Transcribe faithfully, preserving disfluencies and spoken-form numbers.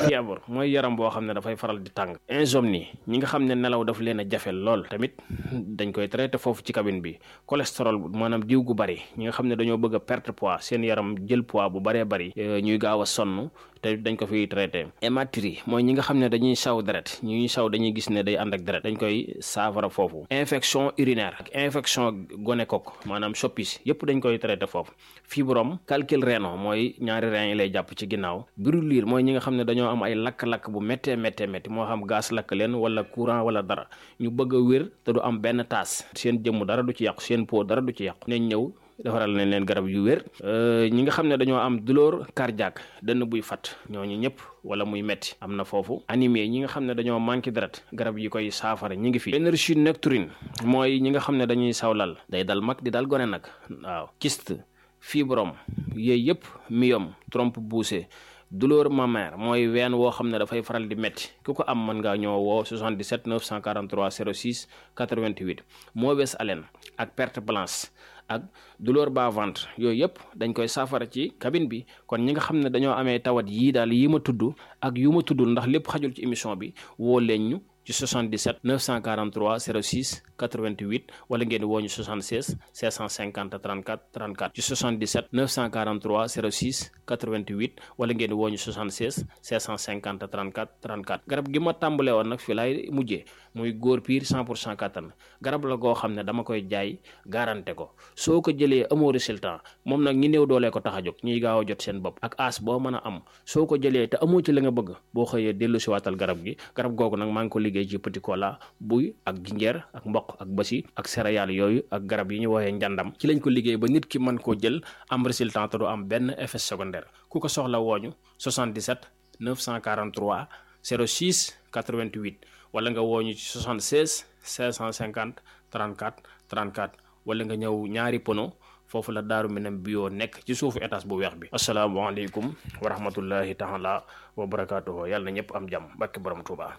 fièvre mooy yaram boo xam ne dafay faral di tàng. insomnie ñi nga xam ne nelaw daf leen a jafe lool tamit dañ koy traité foofu ci cabine bi. cholestérol maanaam diw gu bari ñi nga xam ne dañoo bëgg a perte poids seen yaram jël poids bu baree bari ñuy gaaw a sonn te dañ ko fiy traité. hématurie mooy ñi nga xam ne dañuy saw deret ñuy saw dañuy gis ne day ànd ak deret dañ koy saafara foofu. infection urinaire ak infection gonocoque maanaam soppis yëpp dañ koy traité foofu. fibrome calcul rénal mooy ñaari rein yi lay jàpp ci ginnaaw. brûlure mooy ñi nga xam ne dañoo am ay lakk-lakk bu méttee méttee métti moo xam gaz lakk leen wala courant wala dara ñu bëgg a wér te du am benn taas seen jëmm dara du ci yàqu seen peau dara du ci yàqu nañ ñëw defaral nañ leen garab yu wér. ñi nga xam ne dañoo am douleur cardiaque dënn buy fat ñooñu ñëpp wala muy metti am na foofu. anémie ñi nga xam ne dañoo manqué deret garab yi koy saafara ñi ngi fi. énergie nocturne mooy ñi nga xam ne dañuy sawlal day dal mag di dal gone nag waaw. kyste fibrome yooyu yëpp myome trompe poussée douleur mammaire mooy ween woo xam ne dafay faral di métti ku ko am mën ngaa ñoo woo soixante-dix-sept neuf cent quarante-trois zéro six quatre-vingt-huit. mauvaise haleine ak perte blanche ak douleur bas-ventre yooyu yëpp dañ koy saafara ci cabine bi. kon ñi nga xam ne dañoo amee tawat yii daal yi ma tudd ak yu ma tuddul ndax lépp xajul ci émission bi woo leen ñu ci soixante-dix-sept neuf cent quarante-trois zéro six quatre-vingt-huit wala ngeen woo ñu soixante-seize cinq cent cinquante trente-quatre trente-quatre ci soixante-dix-sept neuf cent quarante-trois zéro six quatre-vingt-huit wala ngeen woo ñu soixante-seize cinq cent cinquante trente-quatre trente-quatre. garab gi ma tàmbalee woon nag fi laay mujjee muy góor piir cent pour cent kattan garab la goo xam ne dama koy jaay garanté ko soo ko jëlee amoo résultat moom nag ñi néew doolee ko tax a jóg ñuy gaaw a jot seen bopp ak as boo mën a am soo ko jëlee te amoo ci la nga bëgg boo xëyee dellu si waatal garab gi. garab googu nag maa ngi ko liggéey ci petit cola buy ak jinjeer ak mboq ak basi ak céréales yooyu ak garab yi ñu woowee njàndam ci lañ ko liggéey ba nit ki mën koo jël am résultat te du am benn effet secondaire. ku ko soxla wooñu soixante-dix-sept neuf cent quarante-trois zéro six quatre-vingt-huit wala nga wooñu ci soixante-seize cinq cent cinquante trente-quatre trente-quatre wala nga ñëw ñaari pono foofu la Daaru Minam bio nekk ci suufu étage bu weex bi. asalaamaaleykum wa rahmatullahi taala wa barakaatuhu yàlla na ñëpp am jàmm barke borom Tuuba.